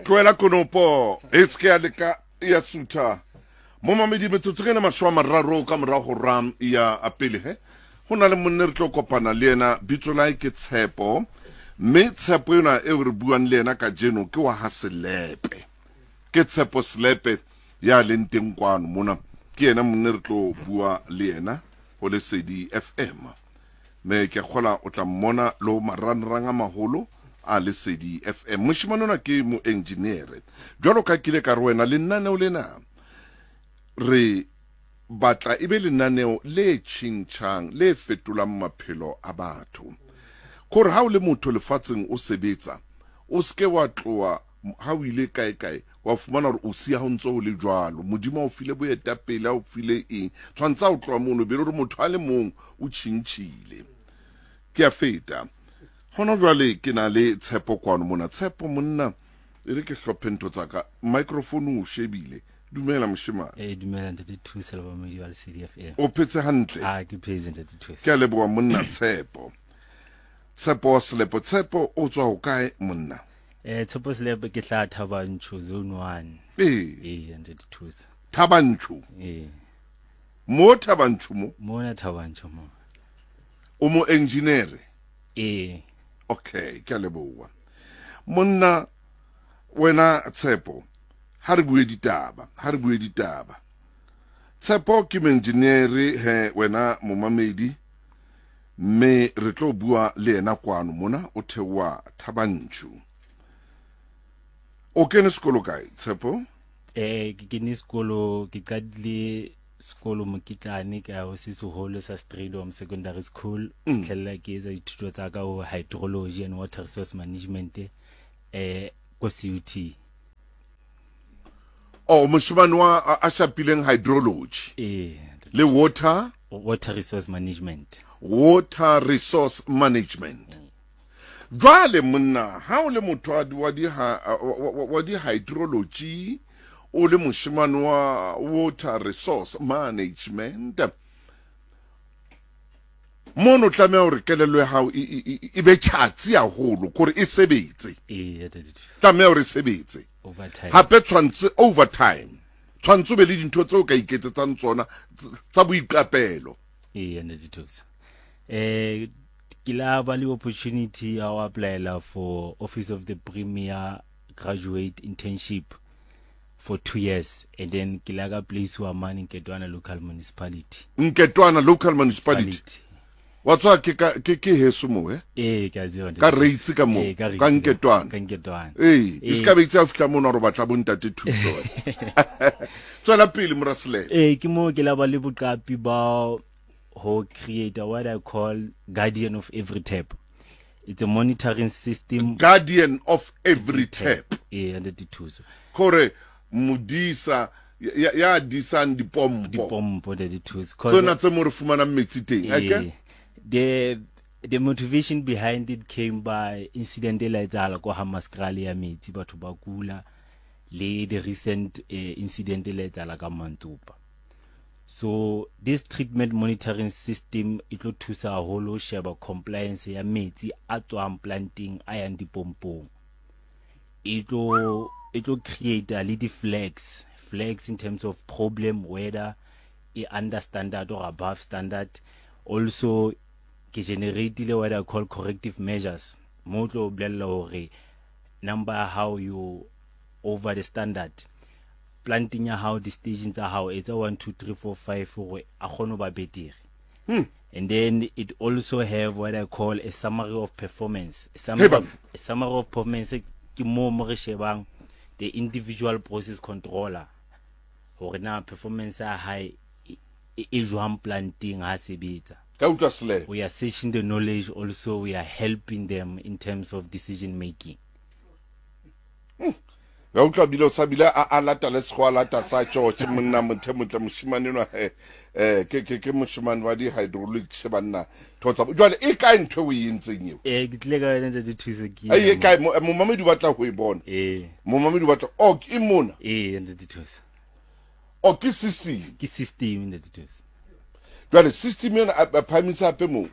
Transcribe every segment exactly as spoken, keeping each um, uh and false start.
Tlohela konopo e se ke ya leka ya sutha. Momamedi, metsotso ke ena mashome a mararo ka mora hora ya pele he. Ho na le monna re tlo kopana le yena, bitso la hae ke Tshepo. Mme Tshepo ena eo re buang le yena kajeno ke wa ha Selepe. Ke Tshepo Selepe ya leng teng kwano mona. Ke yena monna re tlo bua le yena ho Lesedi F M. Mme ke a kgola o tla mmona le ho marangrang a maholo a Lesedi F M. Moshemane ona ke moengineere. Jwalo ka ke ile ka re wena lenaneo lena re batla e be lenaneo le tjhentjhang, le fetolang maphelo a batho. Kore ha o le motho lefatsheng o sebetsa, o seke wa tloha ha o ile kae kae, wa fumana hore o siya ho ntso ho le jwalo. Modimo a o file boetapele, a o file eng. Tshwantse ha o tloha mono, be le hore motho a le mong o tjhentjhile. Ke a feta. Hona jwale ke na le Tshepo kwano mona. Tshepo monna, e re ke hlophe ntho tsa ka. Microphone o shebile. Dumela moshemane. Eh, dumela ntate Thuso le bamamedi ba Lesedi F M. O phetse hantle? Ah, ke phetse ntate Thuso. Ke a leboha monna Tshepo. Tshepo Selepe. Tshepo o tswa hokae monna? Eh, Tshepo Selepe ke tla Thabanchu zone one. Eh. Eh, ntate Thuso. Thabanchu? Eh. Mo Thabanchu mo? Mona Thabanchu mo. O mo engineer? Eh. Okay, ke a leboha. Monna wena Tshepo, ha re bue ditaba, ha re bue ditaba. Tshepo ke engineer he wena momamedi, mme re tlo bua le yena kwano mona o theoha Thabanchu. O kene sekolo kae Tshepo? Eh, ke kene sekolo, ke qadile sekolo Mokitlane ka ho se seholo sa Strijdom Secondary School. Mm. Fihlella ke etsa dithuto tsa ka ho hydrology and water resource management, eh, ko C U T. Oh, moshemane wa a, a shapileng hydrology. Eh, Le water? Water resource management. Water resource management. Mm. Jwale monna, ha o le motho wa di, wa di ha, wa, wa, wa, wa di hydrology, o le moshemane wa water resource management, mono o tlameha hore kelello ya hao e, e, e, e be tjhatsi haholo, kore e sebetse. Eh, ya tadi thuso. Tlameha hore e sebetse. Overtime. Hape tshwantse overtime. Tshwantse o be le dintho tseo o ka iketsetsang tsona tsa boiqapelo. Eh, ya tadi thuso. Eh, ke la ba le opportunity ya ho applyela for Office of the Premier Graduate Internship for two years, and then ke la ka place wa mane Nketwana Local Municipality. Nketwana Local Municipality. Municipality. Wa tswa ke ka, ke, ke heso mo, eh? Eh, ke a tseba, Ka ntate. Reitse ka moo, Eh, ka ka Reitse ka Nketwana. Ka Nketwana. Eh, e Eh. se ka be itse ha fihla mono hore o batla bo ntate thuso, eh. Tswela pele, mora Selepe. Eh, ke moo ke la ba le boqapi ba ho create what I call guardian of every tap. It's a monitoring system. Guardian of every Every tap. tap. Eh, ntate Thuso. Kore modisa ya, ya disang dipompo. Dipompo, ntate Thuso. 'Cause Tsona tse mo re fumanang metsi teng, Eh, eke? the, the motivation behind it came by incident e la etsahala ko Hammanskraal ya metsi, batho ba kula, le the recent, eh, incident e la etsahala ka Mantsopa. So this treatment monitoring system e tlo thusa haholo ho sheba compliance ya metsi a tswang planting a yang dipompong. E tlo, e tlo create le di flags, flags in terms of problem whether e under standard or above standard. Also ke generate-ile what I call corrective measures. Mo tlo bolella hore number ya hao you over the standard. Planting ya hao, di stations tsa hao etsa one, two, three, four, five hore a kgone ho ba betere. Hmm. And then it also have what I call a summary of performance. A summary, Hey, of, a summary of performance ke mo mo re shebang the individual process controller hore na performance ya hae e, e, e jwang planting ha sebetsa. Ka utlwa Selepe. We are searching the knowledge, also we are helping them in terms of decision making. Hmm. Ka utlwa bile o sa bile a, a lata le sekgowa, a lata sa George, monna motho motle moshemane enwa, eh, eh, ke, ke, ke moshemane wa di-hydraulics banna. Tho tsa bo-, jwale e kae ntho eo o e entseng eo? Eh, ke tlile ka yona ntate Thuso, ke Ai, e ena kae? mo. Mo-, momamedi o batla ho e bona. Eh. Momamedi o batla, oh, ke mona. Eh, ntate Thuso. Oh, ke system. Ke system ntate Thuso. Jwale system ena, a, a phahamisa hape moo.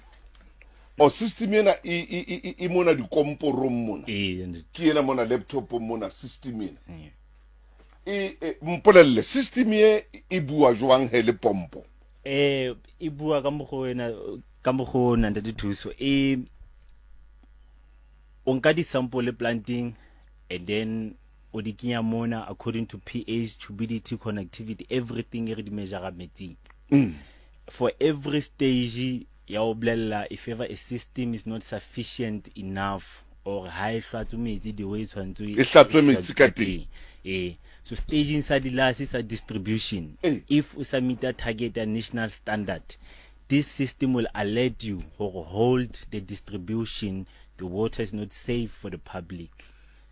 O system ena e e e mona dikomporong mona. Eh, ke ena mona laptop mona system ena. E mpolelle system e e bua jwang he le pompo? Eh, e bua ka mokgwa wena ka mokgwa ona Ntate Thuso. E o nka di-sample planting and then o di kenya mona according to pH, turbidity, connectivity, everything e re di measure metsing. Mm. For every stage ya o bolella if ever a system is not sufficient enough or ha e hlatswe metsi the way e tshwanetse e hlatswe metsi ka teng. Eh, so staging sa dilase sa distribution, eh. If o submit a target a national standard, this system will alert you or hold the distribution, the water is not safe for the public.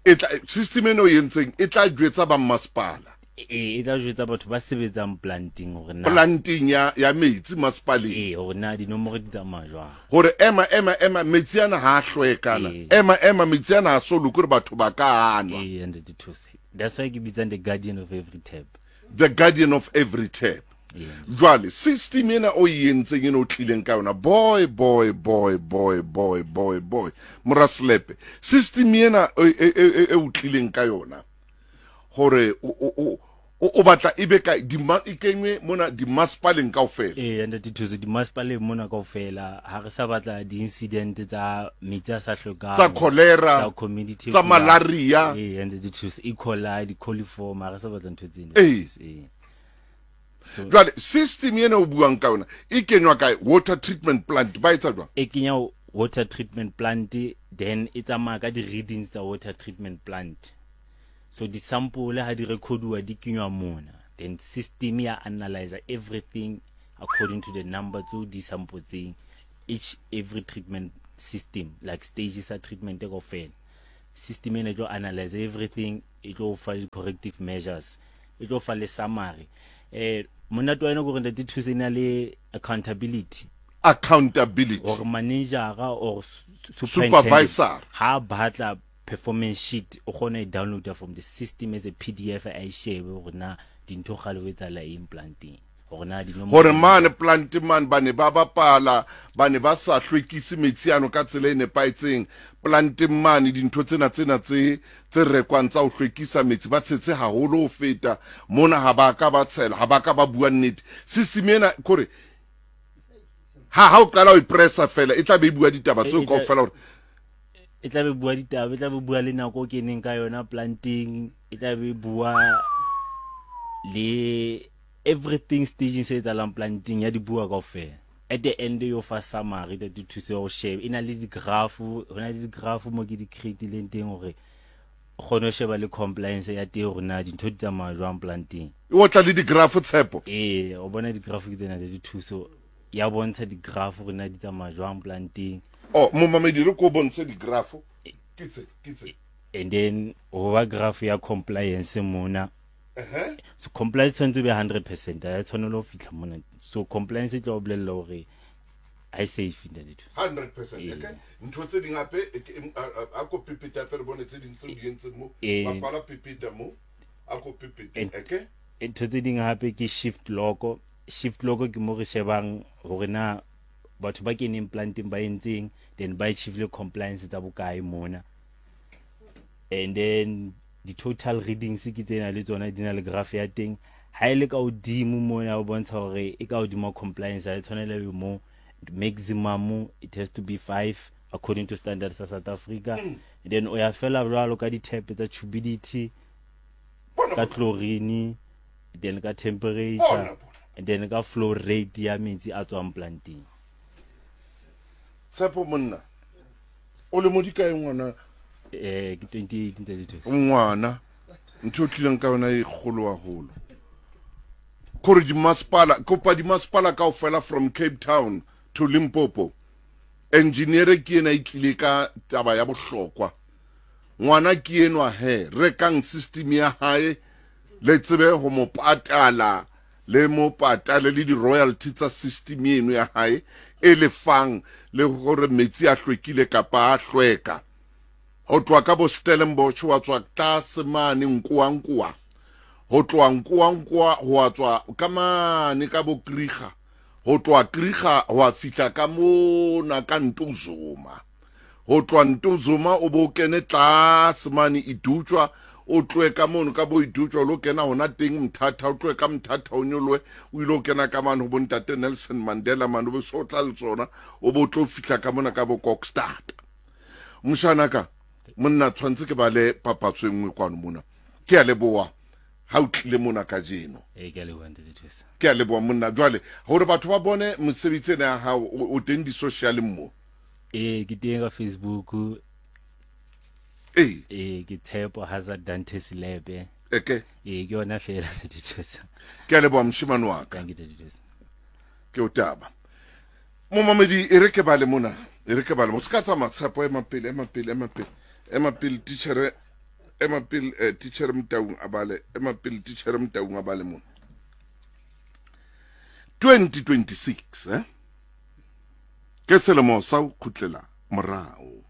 E tla system eno e entseng e tla jwetsa ba masepala. E e tla jwetsa batho ba sebetsang planting hore na planting ya ya metsi masepaleng. Eh, hore na dinomoro di tsamaya jwang. Hore ema ema ema metsi ana ha hlwekana. Ema ema metsi ana ha so loke hore batho ba ka anwa. Eh, and the two. That's why ke bitsang the guardian of every tap. The guardian of every tap. Yeah. Jwale system ena o e entseng eno o tlileng ka yona, boy boy boy boy boy boy boy mora Selepe, system ena e o tlileng ka yona hore o o batla ebe ka di e kenywe mona di masepaleng kaofela. Eh, Ntate Thuso, di masepaleng mona kaofela ha re sa batla di incident tsa metsi a sa hlokang, tsa cholera, tsa community, tsa malaria. Eh, Ntate Thuso, E. coli, di coliform, ha re sa batla ntho tsena. Eh. Eh. So, jwale system ena o buang ka yona e kenywa kae? Water treatment plant ba etsa jwang? E kenya water treatment plant, then e tsamaya ka di readings tsa water treatment plant. So di sample ha di recorduwa di kenywa mona, then system ya analyze everything according to the number tso di sample tseng, each every treatment system like stages of treatment e kaofela. System ena e tlo analyze everything, e tlo fa di corrective measures, e tlo fa le summary. Eh, monate wa yona ke hore Ntate Thuso e na le accountability. Accountability. Or manager or supervisor ha batla performance sheet o kgona e download from the system as a P D F, a e shebe hore na dintho kgale ho etsahala eng planting, hore na dinomoro hore mane plant man ba ne ba bapala, ba ne ba sa hlwekise metsi ano ka tsela e nepahetseng. Plant mane dintho tsena tsena tse tse rekwang tsa ho hlwekisa metsi ba tshetse haholo ho feta mona, ha ba ka ba tshela, ha ba ka ba bua nnete. System ena kore ha ha o qala o pressa fela e tla be e bua ditaba tseo kaofela hore e tla be bua ditaba, e tla be bua le nako o keneng ka yona planting, e tla be bua le everything staging se etsahalang planting ya di bua kaofela. At the end yo fa summary that di thuse ho shebe, e na le di graph, ho na le di graph mo ke di create-ileng teng hore o kgone ho sheba le compliance ya teng hore na dintho di tsamaya jwang planting. O tla le di graph Tshepo? Eh, o bona di graph ke tsena di thuso ya bontsha di graph hore na di tsamaya jwang planting. Oh, momamedi re ko bontshe di graph. Ke tse, ke tse. And then o ba graph ya compliance mona. Uh-huh. So compliance tshwanetse be one hundred percent. Ha e tshwanela ho fihla mona. So compliance e tla o bolella hore ha e safe Ntate Thuso. one hundred percent. Okay. Ntho tse ding hape a ko pepeta fe re bone tse ding tseo di entseng mo. Bapala pepeta mo. A ko pepeta. Okay. Ntho tse ding hape ke shift logo. Shift logo ke mo re shebang hore na batho ba keneng planting ba entseng, then ba achieve compliance tsa bokae mona. And then the total readings ke tsena le tsona di na le graph ya teng. Ha ile ka hodimo mona o bontsha hore e ka hodimo compliance ha e tshwanela be mo maximum, it has to be five according to standards sa South Africa. Mm. And then o ya fela jwalo ka di-tap tsa turbidity, ka chlorine, then ka temperature, bona, bona. And then ka flow rate ya metsi a tswang planting. Tshepo monna, o le modi kae ngwana? Eh, ke twenty eighteen thirty-two. Ngwana, ntho o tlileng ka yona e kgolo haholo. Kore di masepala, kopa di masepala kaofela from Cape Town to Limpopo. Engineer ke ena e tlile ka taba ya bohlokwa. Ngwana ke enwa he, rekang system ya hae, le tsebe ho mo patala, le mo patale le di royalty tsa system eno ya hae e lefang le hore metsi a hlwekile kapa a hlweka. Ho tloha ka bo Stellenbosch wa tswa tlase mane Nkoankoa, ho tloha Nkoankoa ho wa tswa ka mane ka bo Kriga, Ho tloha Kriga ho a fihla ka mona ka Ntuzuma. Ho tloha Ntuzuma o bo kene tlase mane Idutywa, o tlohe ka mono ka bo Idutywa o lo kena hona teng Mthatha, o tlohe ka Mthatha o nyolohe o ilo kena ka mane ho bo ntate Nelson Mandela mane, o be so tla le tsona, o bo tlo fihla ka mona ka bo Kokstad. Moshanaka, monna tshwantse ke bale papatso e nngwe kwano mona. Ke a leboha ha o tlile mona kajeno. Ee, ke a leboha ntate Thusa. Ke a leboha monna. Jwale hore batho ba bone mosebetsi ena ya hao, o teng di-social-eng mo? Ee, ke teng ka Facebook. Ee. Ee, ke Tshepo Hazard Dante Selepe. Eke. Ee, ke yona fela ntate Thusa. Ke a leboha moshemane wa ka. Thank you ntate Thusa. Ke o taba. Momamedi, e re ke bale mona. E re ke bale. O se ka tsamaya Tshepo, ema pele, ema pele, ema pele. Ema pele titjhere, ema pele eh, titjhere Motaung a bale, ema pele titjhere Motaung a bale mona. twenty twenty-six eh? Ke selemo sa ho kgutlela morao.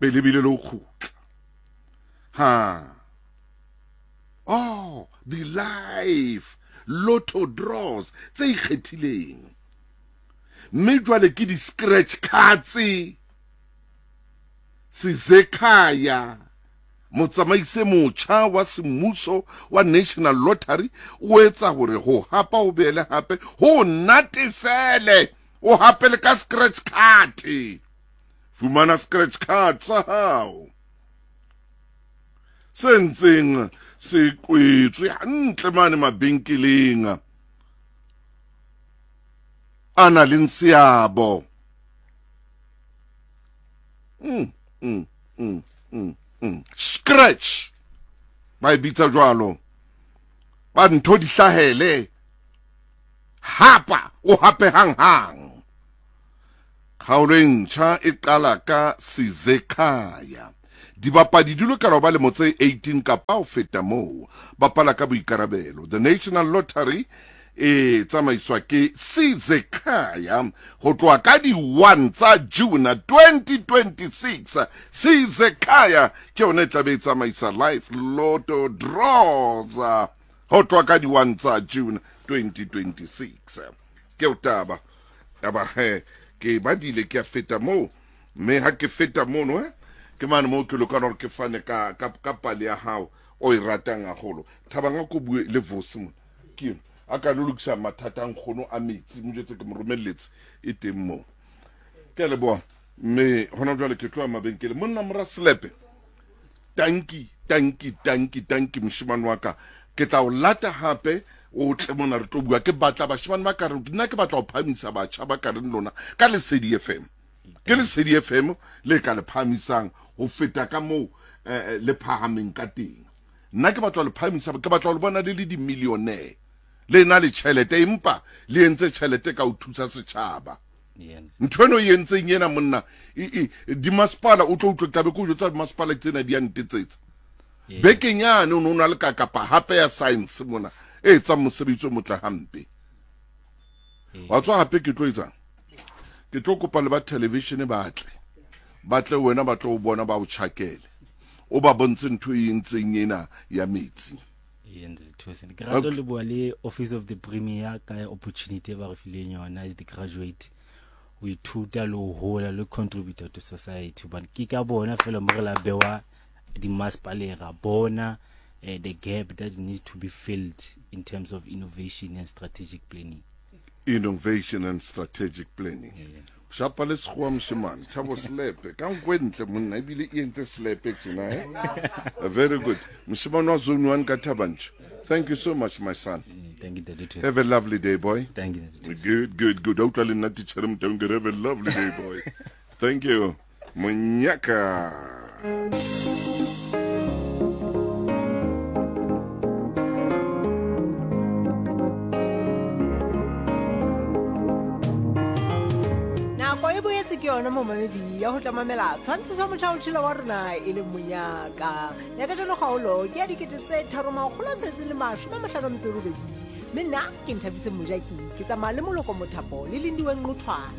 Pele bile le ho kgutla. Ha. Oh, the life lotto draws tse ikgethileng. Mme jwale ke di-scratch cards. Sizekhaya, motsamaise motjha wa semmuso wa National Lottery, o etsa hore ho hapa o beele hape ho natefele, o hape le ka scratch card. Fumana scratch card sa hao se ntseng se kwetswe hantle mane mabenkeleng a na le seabo. Mm, mm, mm, mm, mm. Scratch ba e bitsa jwalo, ba ntho di hlahele, hapa o hape hang hang. Kgaolo e ntjha e qala ka Sizekhaya. Dibapadi di lokela ho ba lemo tse eighteen kapa ho feta moo. Bapala ka boikarabelo. The National Lottery e tsamaiswa ke Sizekhaya ho tloha ka di one tsa June twenty twenty-six. Sizekhaya ke yona e tla be e tsamaisa life lotto draws ho tloha ka di one tsa June twenty twenty-six. Ke o taba. Taba he ke badile ke a feta moo, mme ha ke feta mono eh ke mane moo ke lokela hore ke fane ka ka ka pale ya hao o e ratang haholo. Thabang a ko bue le Vusi mona. Ke eno a ka lo lokisa mathata a nkgono a metsi, mo jwetse ke mo romelletse e teng moo. Ke a leboha. Mme hona jwale ke tloha mabenkeleng. Monna mora Selepe, tanki, tanki, tanki, tanki moshemane wa ka. Ke tla o lata hape o tle mona re tlo bua. Ke batla bashemane ba ka reng, nna ke batla ho phahamisa batjha ba ka reng lona ka Lesedi F M. Ke Lesedi F M le ka le phahamisang ho feta ka moo eh, le phahameng ka teng. Nna ke batla ho le phahamisa, ke batla ho le bona le le di-millionaire. Le na le tjhelete, empa le entse tjhelete ka ho thusa setjhaba. Ntho eno e entseng ena monna, dimasepala o tlo utlwa tlabe ke o jwetsa dimasepala tsena di a ntetsetsa. Bekeng yane o no na le ka kapa hape ya science mona e etsang mosebetsi o motle hampe. Wa tswa hape ke tlo etsang? Ke tlo kopa le ba television ba tle. Ba tle wena ba tlo o bona ba o tjhakele. O ba bontshe ntho e entseng ena ya metsi. Ke rata le bua le Office of the Premier ka opportunity ba re fileng yona as the graduate. O ithuta le ho hola le contributor to society, but ke ka bona fela mo re la bewa di masepaleng ra bona eh, the gap that needs to be filled in terms of innovation and strategic planning. Innovation and strategic planning. Yeah. Shapa le sekgowa moshemane, Thabo Selepe, ka nko e ntle monna, ebile e entse Selepe tjena, eh? Very good. Moshemane wa zone one ka Thabanchu. Thank you so much, my son. Thank you, Daddy. Have a lovely day, boy. Thank you, Daddy. Good, good, good. Utlwa le nna titjhere Motaung, ke re, have a lovely day, boy. Thank you. Monyaka. Ke yona momamedi ya ho tla mamela tshwantshiso motjha o tshela wa rona e leng Monyaka. Ya kajeno kgaolo ke ya dikete tse tharo makgolo a tsheletseng le mashome a mahlano a metso e robedi. Mme nna ke Nthabiseng Mojaki, ke tsamaya le Moloko Mothapo le Lindiwe Nqothwana.